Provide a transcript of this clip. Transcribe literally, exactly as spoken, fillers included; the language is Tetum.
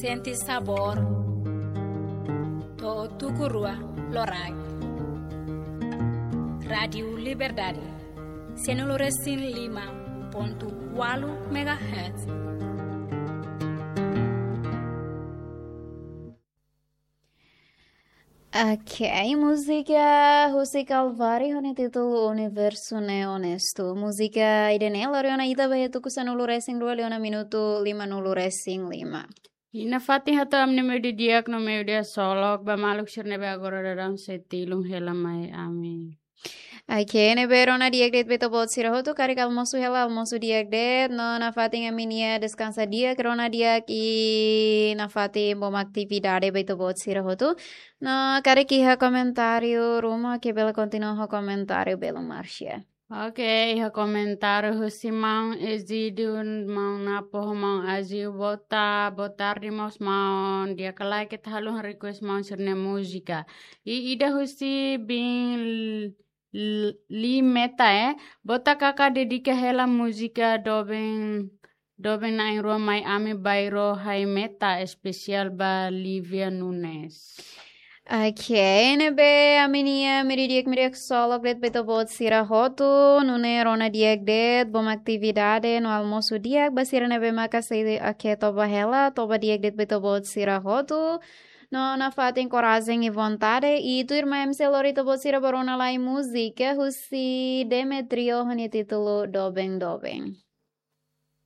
Sente sabór. To'o tuku rua loraik. Rádiu Liberdade. Sanulu-resin-lima pontu ualu megahertz. Ok, múzika husi Calvário ho nia títulu Universo Ne'e Onesto. Múzika ida-ne'e lori ona ita ba iha tuku sanulu-resin-rua liu ona minutu limanulu-resin-lima. I nafatin hato'o ami-nia meiudia di'ak no meiudia ksolok ba maluk sira ne'ebé agora daudaun sei tilun hela mai ami. Ok, ne'ebé rona di'ak de'it ba ita-boot sira hotu, karik almosu hela, almosu di'ak de'it, no nafatin ami-nia deskansa di'ak, rona di'ak i nafatin bom atividade ba ita-boot sira hotu. No karik iha komentáriu ruma, ke bele kontinua ho komentáriu belun Marcia. Ok, iha komentáriu husi maun Ezidio, maun Napo, maun Aziu, boa ta-, boa tarde, maun, maun. Di'ak ka lae, keta haluha request maun sira-nia múzika. I ida husi bin L-, Li Meta, eh. Boa ta-, kaka dedika hela múzika doben, doben na'in-rua mai ami, Bairro Hai Meta, espesiál ba Livia Nunes. Ok, ne'ebé ami-nia meiudia di'ak, meiudia ksolok de'it ba ita-boot sira hotu, nune'e rona di'ak de'it, bom atividade no almosu di'ak, ba sira ne'ebé maka sei, ok, toba hela, toba di'ak de'it ba ita-boot sira hotu. No nafatin korajen i vontade, i tuirmai ami sei lori ita-boot sira ba rona lai múzika husi Demetrio ho nia títulu Doben Doben.